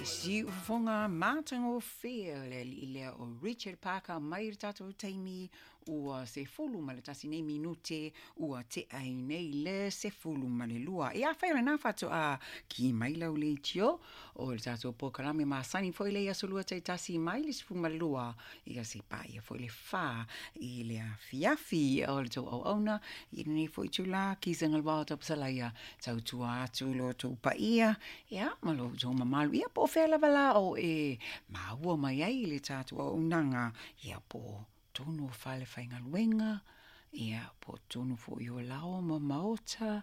Siufofoga matagofie o le alii lea o Richard Parker mai le tatou taimi ua 11 nei minute ua tea ai nei le 12. Ia afai o lena faatoa ki mai lau leitio o le tatou polokalame masani foi lea i aso lua taitasi mai le 12 ia seia paia foi le 4 i le afiafi. O le tou auauna i lenei foi itulā, Kisa Galuvao Tapusalaia, tautua atu lo outou paia ia ma lo outou mamalu, ia po o fea lava la o e maua mai ai le tatou auaunaga, ia po o totonu o fale faigaluega, ia po o totonu foi o laoa ma maota,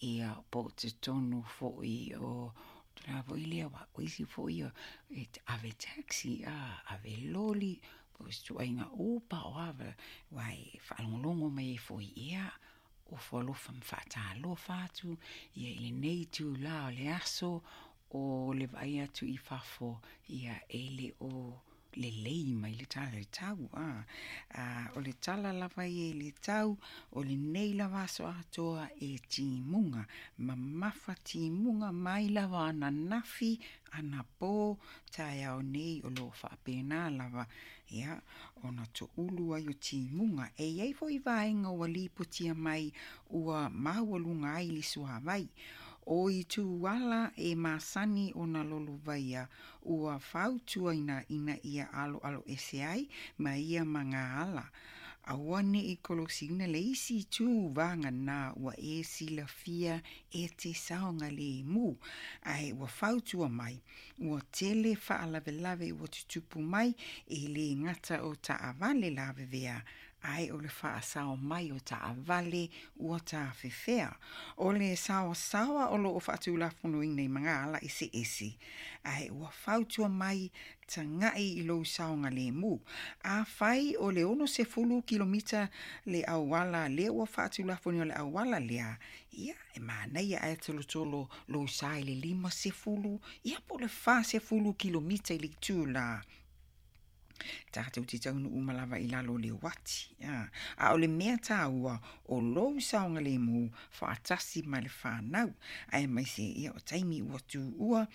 ia po o totonu foi o tulaga foi lea, aua o isi foi e ave taxi, ave loli, po o se ituaiga Uber o a, aua e faalogologo mai ai foi, ia, ofo alofa ma faatalofa atu ia i lenei itulā o le aso o le vaai atu i fafo, ia e le o lelei mai le tala i le tau. O le tala lava ia i le tau, o lenei lava aso atoa e timuga, mamafa timuga mai lava ananafi, anapo, taeao nei o lo o faapena lava, ia, ona toulu ai o timuga. E i ai foi vaega ua lipotia mai ua maualuga ai le suavai. O ituala e masani ona lolovaia ua fautuaina ina ia aloaloese ai ma ia magaala. Aua ne i kolosiina le isi itu vagana ua e silafia e te saogalemu, ae ua fautua mai ua tele faalavelave ua tutupu mai e le gata o taavale lavevea, ae o le faasao mai o taavale ua tafefea. O le saoasaoa o lo o faatulafonoina i magaala eseese, ae ua fautua mai tagai i lou saogalemu. Afai o le 60 kilomita le auala lea ua faatulafonoina le auala lea, ia, e manaia ae tolotolo lou sa i le 50, ia po o le 40 kilomita i le itulā. Tatou te taunuu uma lava i lalo o le uati. A o le mea taua, o lou saogalemu faatasi ma le fanau, aemaise ia o taimi ua tuua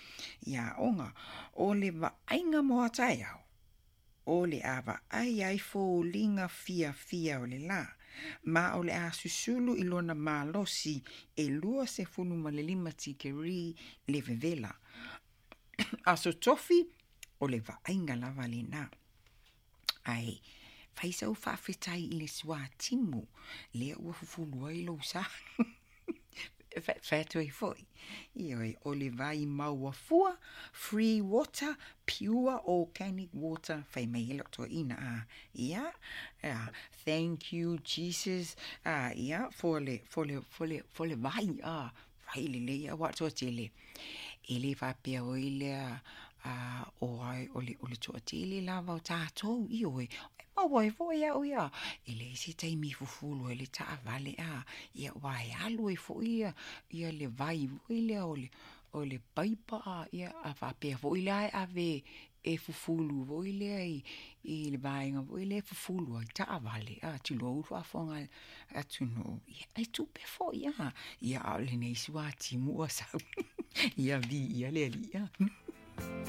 i aoga. O le vaaiga mo a taeao, o le a vaai ai foliga fiafia o le lā, ma o le a susulu i lona malosi e 25 tikeri le vevela. Aso Tofi, o le vaaiga lava lena. Ae fai sau faafetai i le suatimu lea ua fufulu ai lou sa. Fai atu ai foi. Ioe, o le vai maua fua, free water, pure organic water, fai mai ai lau toeaina. Ia, thank you Jesus, ia, for le, for le, for le, for le vai, vai lelei, aua o le toatele, e le faapea oi lea, o ai, o le, o le toatele lava o tatou, ioe, e maua ai foi au ia, e leai se taimi e fufulu ai le taavale, ia, aua e alu ai foi ia, ia le vai foi lea o le, o le paipa, ia, a faapea foi la e ave e fufulu foi lea i, i le vaega foi lea e fufulu ai taavale, tulou le faafofoga a le atunuu, ia, e tupe foi, ia, a o lenei suatimu ua sau, ia, viia le Alii.